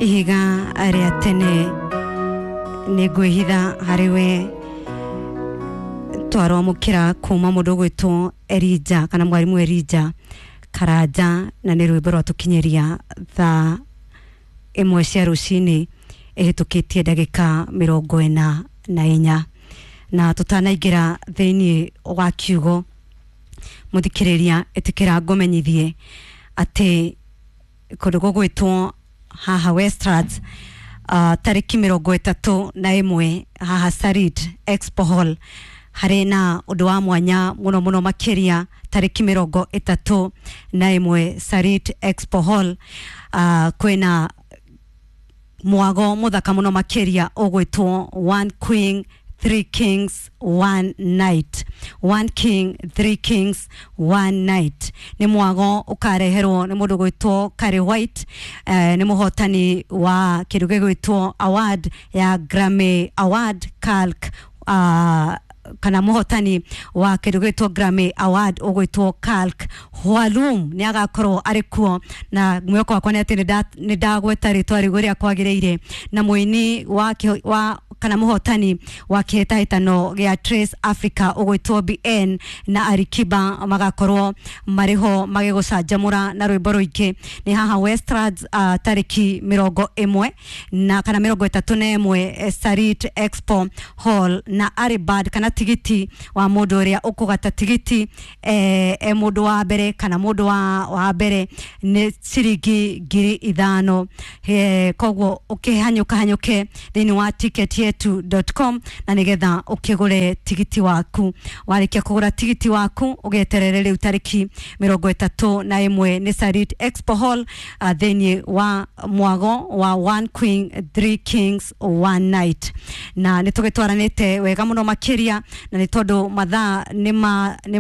Ihiga rĩa tene nĩ ngwĩhitha harĩ we. Twarwamũkĩra kuma mũndũ ũgwĩtwo Erija kana mwarimũ Erija Karanja, na nĩ rwĩmbo rwatũkinyĩria thaa 1 cia rũcinĩ ĩhĩtũkĩtie ndagĩka 44. Na tũtanaingĩra thĩinĩ wa kiugo, mũthikĩrĩria, ĩtĩkĩra ngũmenyithie atĩ kũndũ gũgwĩtwo haha Westlands, tarĩki 31 haha Sarit Expo Hall harĩ na ũndũ wa mwanya mũno mũno makĩria. Tarĩki 31 Sarit Expo Hall, kwĩna mwago mũthaka mũno makĩria ũgwĩtwo One Queen Three Kings One Night. One King Three Kings One Night nĩ mwago ũkareherwo nĩ mũndũ gwĩtwo Kari White, nĩ mũhotani wa kĩndũ gĩgwĩtwo award ya Grammy Award Calc, kana mũhotani wa kĩndũ gĩtwo Grammy Award ũgwĩtwo Calc Hwalum nĩ agakorwo arĩ kuo, na mwĩhoko wakwa nĩ atĩ nĩ ndagweta rĩtwa rĩu ũrĩa kwagĩrĩire. Na mũini wa kana mũhotani wa kĩhĩtahĩtano gĩa Trace Africa ũgwĩtwo BN na Alikiba magakorwo marĩ ho magĩgũcanjamũra na rwĩmbo rũingĩ. Nĩ haha Westlands, tarĩki 10 na kana 31, Sarit Expo Hall. Na Aribad kana tigiti wa mũndũ ũrĩa ũkũgata tigiti, e mũndũ wa mbere kana mũndũ wa mbere nĩ ciringi 5,000. Koguo ũkĩhanyũka hanyũke thĩinĩ wa ticketyetu.com na nĩgetha ũkĩgũre tigiti waku. Warĩkia kũgũra tigiti waku, ũgeterere rĩu tarĩki 31 nĩ Sarit Expo Hall, thĩinĩ wa mwago wa One Queen Three Kings One Night. Na nĩ tũgĩtwaranĩte wega mũno makĩria, na nĩ tondũ mathaa nĩ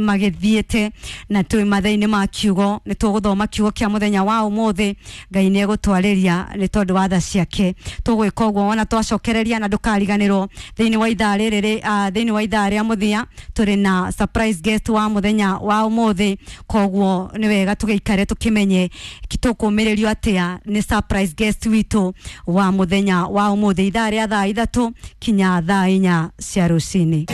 magĩthiĩte na twĩ mathaa-inĩ ma kiugo, nĩ tũgũthoma kiugo kĩa mũthenya wa ũmũthĩ. Ngai nĩ egũtwarĩria nĩ tondũ wa tha ciake. Tũgwĩka ũguo wona twacokereria, na ndũkariganĩrwo thĩinĩ wa ithaa rĩrĩ thĩinĩ wa ithaa rĩa mũthia tũrĩ na surprise guest wa mũthenya wa ũmũthĩ. Koguo nĩ wega tũgĩikare tũkĩmenye tũkũmĩrĩrio atĩa nĩ surprise guest witũ wa mũthenya wa ũmũthĩ, ithaa rĩa thaa 3 kinya thaa 4 cia rũcinĩ.